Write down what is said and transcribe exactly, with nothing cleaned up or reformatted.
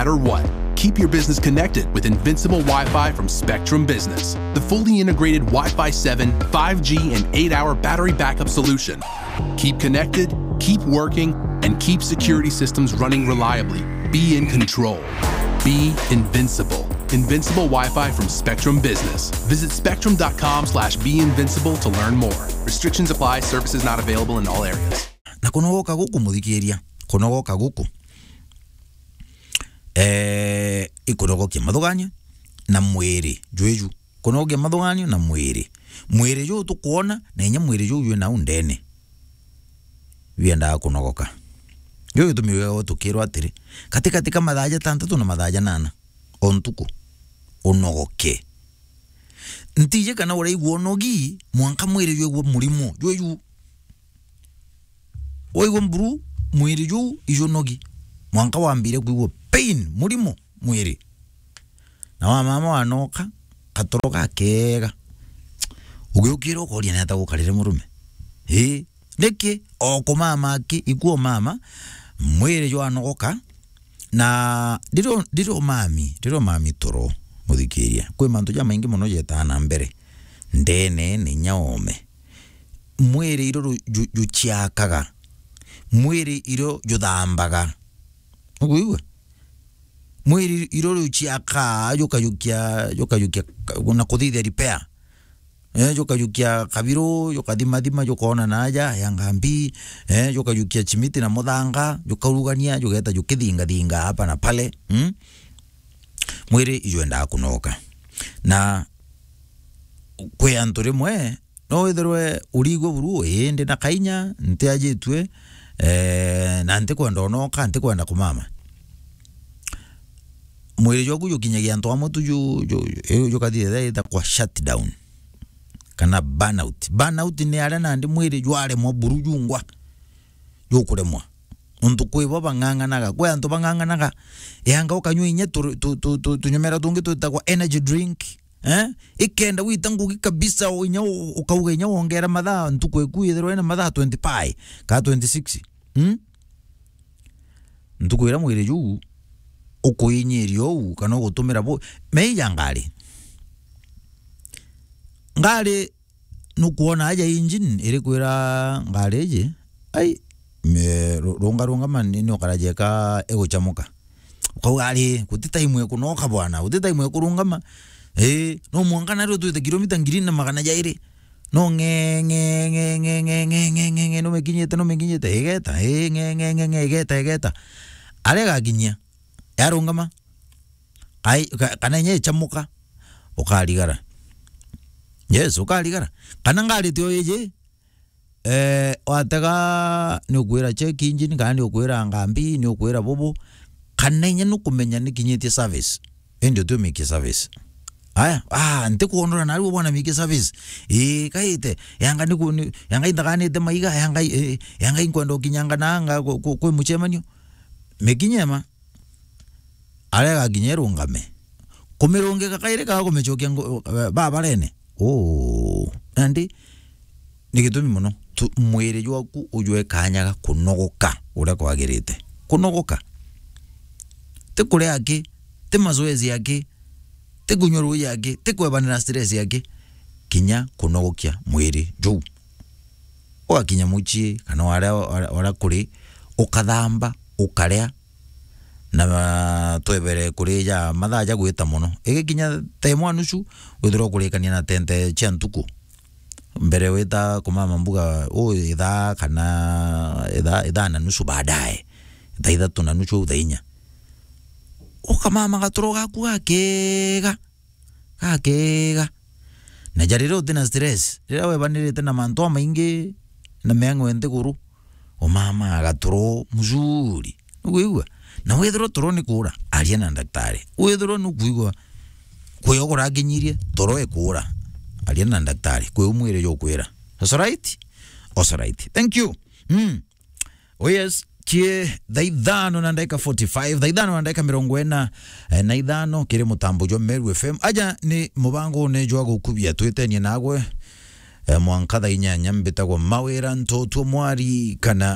matter what. Keep your business connected with Invincible Wi-Fi from Spectrum Business, the fully integrated Wi-Fi seven, five G, and eight-hour battery backup solution. Keep connected, keep working, and keep security systems running reliably. Be in control. Be invincible. Invincible Wi-Fi from Spectrum Business. Visit spectrum dot com slash be invincible to learn more. Restrictions apply. Services not available in all areas. Na kunogoka guku, muthikiria, kunogoka guku, eh, ikunogokia mathuganio na mwiri jwiju. Kunogokia mathuganio na mwiri. Mwiri juu tukwona, na inya mwiri juu jwi nau ndene. Biendaga kunogoka. Juu gitumi wega tukirwa atiri, katikati ka mathaa jatantatu na mathaa janana o ntuku, unogoke. Ntiji kana uraigua unogi, mwanka mwiri jwigua murimo jwiju. Waigua mburu, mwiri juu ijunogi. Mwanka wambire kwigua pain, murimo, mwiri. Na wa mama wanoka, katoro gakega. Ugiukira ukoria neta gukarire murume. Ii, niki? O kumama aki, ikuo mama, mwiri jwanogoka, na ndiro, ndiro mami, ndiro mami toro, muthikiria. Kwi mantu jamaingi mono jetaa na mbere. Ndene ni inya ome. Mwiri iro ru-, ju-, juciakaga. Mwiri iro juthambaga. Nukwigua? Mwiri iro ruciakaa, jukajukia, jukajukia ka-, na kuthithia repair. Eh, jukajukia kabiru, jukathimathima, jukoona naaja, ya ngambi, eh, jukajukia chimiti na muthanga, jukaurugania, jugeta jukithingathinga hapa na pale, mm? Mwiri ijwendaa kunoka. Na kwi antu rimwe, no withirwe urigwe buru, ii, ndi na kainya, ntiajitue, eh, na ntikwenda unoka, ntikwenda kumama. Mwiri jwaku jukinyagia antu amwe tu ju-, ju-, ju-, jukathithia ithagwa shutdown, kana burnout. Burnout ni aria nandi mwiri jwaremwa buru jungwa, jukuremwa. Nontu kwi bo bang'ang'anaga. Kwi antu bang'ang'anaga, eanga ukanyua inya tu-, tu-, tu-, tu-, tunyumera tungi twitagwa energy drink, eh? Ikenda wita ngugi kabisa, o inya u-, ukauga inya wongera mathaa, ntuku iku ithirwa ina mathaa twenty-five ka twenty-six. Hmm? Ntuku iria mwiri juu ukuinyiria uu, kana ugutumira bu-, meija ngari. Ngari nukwona aja engine irikwira ngari iji, ai, me-, ru-, runga, rungama ni, ni ukaraja eka iguchamuka. Ukauga, "Ari, guti time ya kunoka bwana, guti time ya kurungama." Ii, no mwanka nario twite kilomita ngiri na magana jairi. No ng'e, ng'e, ng'e, numekinyite, numekinyite, igeta, ii, ng'e, ng'e, ng'e, ng'e, igeta, igeta. Aria igakinyia, yarungama. Ai, ka-, kana inya ichamuka, ukarigara. Yes, ukarigara. Kana ngari tio iji, eh, watega ni ukwira check engine, kana ni ukwira ngambi, ni ukwira bubu, kana inya nukumenya ni kinyitie service. Indi utiumikie service. Aya, ah, ntikwonora nario bwana mikie service. Ii, kaite, yanga ni ku-, ni, yanga indaganite maiga, yanga, eh, yanga inkwenda ukinyanga nanga ku-, ku-, kwi muchemanio. Mikinyema. Aria igakinya irungame. Kumirungika kairi kaga kumicokia ngu-, eh, babarene. Uu. Nandi, ni gitumi mono. Tu-, mwiri jwaku ujwe kanya ga kunogoka uria kwagirite. Kunogoka. Ti kuria aki, ti mazoezi aki, ti kunywa ruuji aki, ti kwebanira stress aki. Kinya kunogokia mwiri juu. Ugakinya mucii, kana waria, waria, waria kuri, ukathamba, ukaria, na twebere kurija mathaa ja gwita mono. Igikinya thaa imwe na nusu, withirwa ukurikania na tente cia ntuku. Mbere wita kumama mbuga, u ithaa kana ithaa, ithaa na nusu baadaye. Thaa ithatu na nusu au thaa inya. Ukamama gatoro gaku gakega. Gakega. Na ja riria uti na stress, riria webanirite na mantu amaingi na meng'we nthiguru, umama gatoro mzuri. Nukwigua? Na withirwa toro ni kuura, aria na ndaktari. Withirwa nukwigua kwio kurakinyirie, toro ikuura, aria na ndaktari. Kwi u mwiri jukwira. That's right? That's right. Thank you. Mm. Oh yes, cie thaa ithano na ndagika forty-five, thaa ithano na ndagika mirongo ina, eh, na ithano, kiri mutambo jwa Meru F M. Aja ni mubangone jwa gukubia, twitenie nagwe, eh, mwanka thaa inyanya. Mbitagwa Mawira Ntotwo Mwari, kana